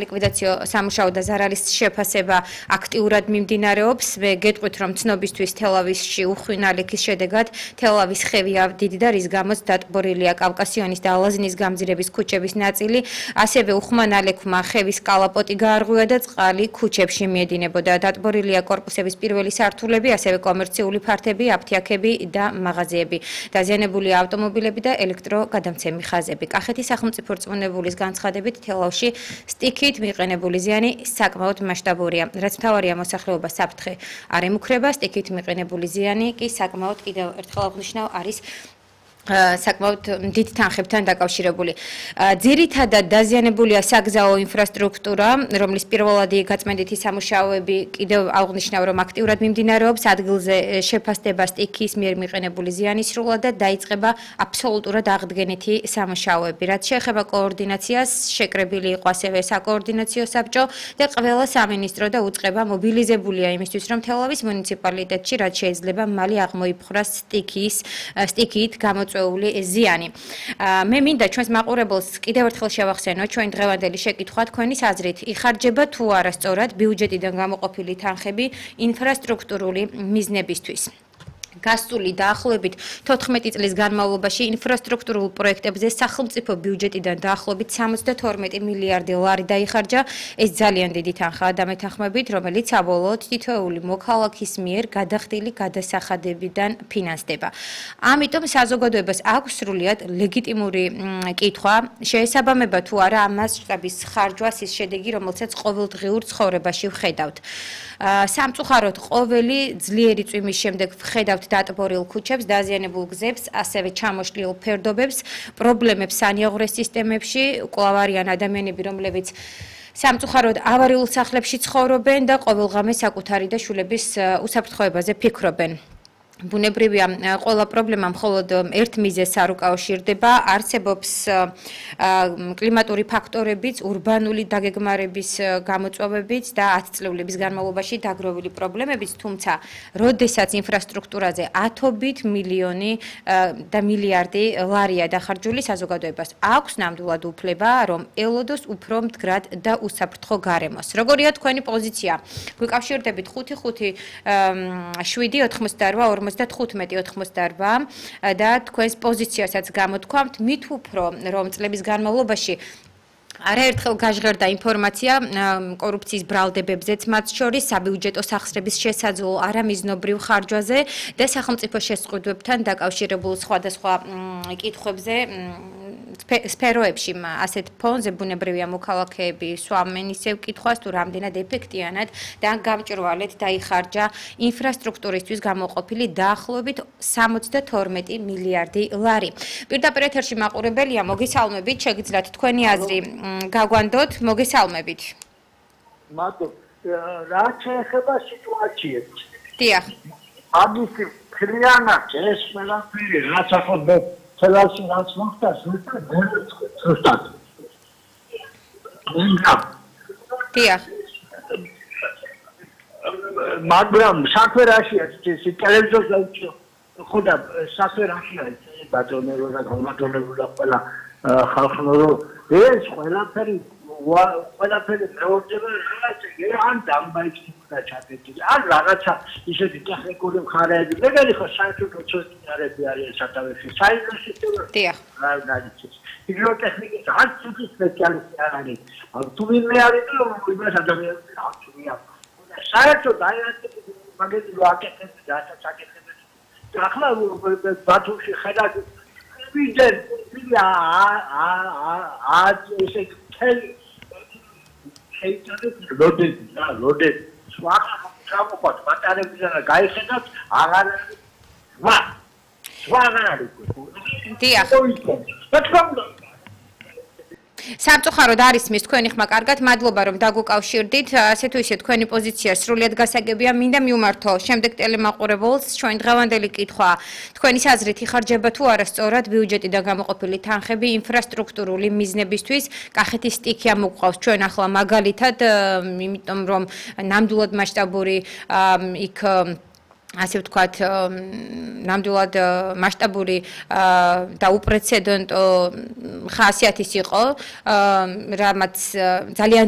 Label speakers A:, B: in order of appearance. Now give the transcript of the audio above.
A: ლიკვიდაციო სამუშაო და ზარალის შეფასება აქტიურად მიმდინარეობს. მე გეტყვით, რომ ცნობისთვის თელავისში უხვინა ლექის შედეგად თელავის ხევია დიდი და რის გამოც დატბორილია კავკასიონის და ალაზნის გამზირების ქუჩების ნაწილი, ასევე უხმანა ლექმა ხევის კალაპოტი გაარღვია და წყალი ქუჩებში მიედინებოდა. დატბორილია კორპუსების პირველი სართულები, ასევე კომერციული ფართები, აფთიაქები და მაღაზიები. დაზიანებულია ავტომობილები და ელექტროგადამცემი ხაზები. კახეთის სახელმწიფო რწმუნებულის განცხადებით თელავში სტიქით მიყენებული ზიანი საკმაოდ მასშტაბურია. რაც მთავარია მოსახლეობა საფრთხე არ ემუქრება, სტიქით მიყენებული ზიანი კი საკმაოდ კიდევ ერთხელ აღნიშნავ არის საკმაოდ დიდ თანხებთან დაკავშირებული. ძირითადად დაზიანებულია საგზაო ინფრასტრუქტურა, რომლის პირველადი გაწმენდითი სამუშაოები კიდევ აღნიშნავ, რომ აქტიურად მიმდინარეობს. ადგილზე შეფასდება სტიქის მიერ მიყენებული ზიანის სრულად და დაიწყება აბსოლუტურად აღდგენითი სამუშაოები. რაც შეეხება კოორდინაციას, შეკრებილი იყო ასევე საკოორდინაციო საბჭო და ყველა სამინისტრო და უწყება მობილიზებულია იმისთვის, რომ თელავის მუნიციპალიტეტში რაც შეიძლება მალე აღმოიფხვრას სტიქით ზიანი. მე მინდა ჩვენს მაყურებელს კიდევ ერთხელ შევახსენო ჩვენ დღევანდელი შეკითხვა თქვენის აზრით იხარჯება თუ არა სწორად ბიუჯეტიდან გამოყოფილი თანხები ინფრასტრუქტურული მიზნებისთვის. გასული დაახლოებით 14 წლის განმავლობაში ინფრასტრუქტურულ პროექტებზე სახელმწიფო ბიუჯეტიდან დაახლოებით 72 მილიარდი ლარი დაიხარჯა. ეს ძალიან დიდი თანხაა დამეთანხმებით, რომელიც საბოლოოდ თითოეული მოქალაქის მიერ გადახდილი გადასახადებიდან ფინანსდება. ამიტომ საზოგადოებას აქვს სრულიად ლეგიტიმური კითხვა, შეესაბამება თუ არა ამ მასშტაბის ხარჯვას ის შედეგი, რომელსაც ყოველდღიურ ცხოვრებაში ვხედავთ. სამწუხაროდ ყოველი ძლიერი წვიმის შემდეგ ვხედავთ დატბორილ ქუჩებს, დაზიანებულ გზებს, ასევე ჩამოშლილ ფერდობებს, პრობლემებს სანიაღვრე სისტემებში, კვლავ არიან ადამიანები, რომლებიც სამწუხაროდ ავარიულ სახლებში ცხოვრობენ და ყოველღამე საკუთარი და შვილების უსაფრთხოებაზე ფიქრობენ. ბუნებრივია, ყველა პრობლემა მხოლოდ ერთ მიზეზს არ უკავშირდება, არსებობს კლიმატური ფაქტორებიც, ურბანული დაგეგმარების გამოწვევებიც და 10 წლების განმავლობაში დაგროვილი პრობლემებიც, თუმცა, როდესაც ინფრასტრუქტურაზე ათობით მილიონი და მილიარდი ლარია დახარჯული, საზოგადოებას აქვს ნამდვილად უფლება, რომ ელოდოს უფრო მდგრად და უსაფრთხო გარემოს. როგორია თქვენი პოზიცია? გვიკავშირდებით 55-7-88 95-88 და თქვენს პოზიციასაც გამოთქვამთ, მით უფრო რომ წლების განმავლობაში არაერთხელ გაჟღერდა ინფორმაცია კორუფციის ბრალდებებზეც, მათ შორის საბიუჯეტო სახსრების შესაძლო არამიზნობრივ ხარჯვაზე და სახელმწიფო შესყიდვებთან დაკავშირებულ სხვადასხვა კითხვებზე სფეროებში. ასეთ ფონზე ბუნებრივია მოქალაქეები სვამენ ისევ კითხვას, თუ რამდენად ეფექტიანად და გამჭვირვალედ დაიხარჯა ინფრასტრუქტურისთვის გამოყოფილი დაახლოებით 72 მილიარდი ლარი. პირდაპირ ეთერში მაყურებელია, მოგესალმებით, შეგიძლიათ თქვენი აზრი გაგვანდოთ, მოგესალმებით.
B: მადლობ. რა შეეხება სიტუაციებს?
A: დიახ.
B: ამისი ფრიანად ეს ყველაფერი რაც ახლა თელავში რაც მოხდა, ზუსტად.
A: დიახ.
B: მაგრამ საქმერაშია ტელევიზორზე ხოდა საქმერაშია ბატონებო და გამატონებო და ყველა ხალხნორო ეს ყველაფერი მეორდება ან დამბაიქი და ჩაკეტილი ან რაღაცა ისეთი ტექნიკური მხარეები მეგარი ხო საერთოდ ცოტნარები არიან სათავეში საერთოდ სისტემა
A: დიახ
B: ჰიდროტექნიკის ან ცუდი სპეციალისტი არ არის თუ ვინმე არის და იმას ადამიანები აღწევია საერთოდ აი ეს მაგეთი ვაკეთებს და ჩაკეტებს და ახლა ბათუმში ხედავთ ვიძენ ესე თელი ლოდე სხვა გამოყოთ ბატარეებიდან გაიხედათ აღარ არის
A: დიახ სამწუხაროდ არის მის თქვენი ხმა კარგად, მადლობა რომ დაგუკავშირდით. ასე თუ ისე თქვენი პოზიცია სრულიად გასაგებია. მინდა მივმართო შემდეგ ტელემაყურებელს ჩვენ დღევანდელი კითხვა. თქვენი აზრით იხარჯება თუ არა სწორად ბიუჯეტიდან გამოყოფილი თანხები ინფრასტრუქტურული მიზნებისთვის? კახეთის სტიქი ამოგვყავს ჩვენ ახლა მაგალითად, იმიტომ რომ ნამდვილად მასშტაბური იქ ასე ვთქვათ, ნამდვილად მასშტაბური და უპრეცედენტო ხასიათის იყო, რამაც ძალიან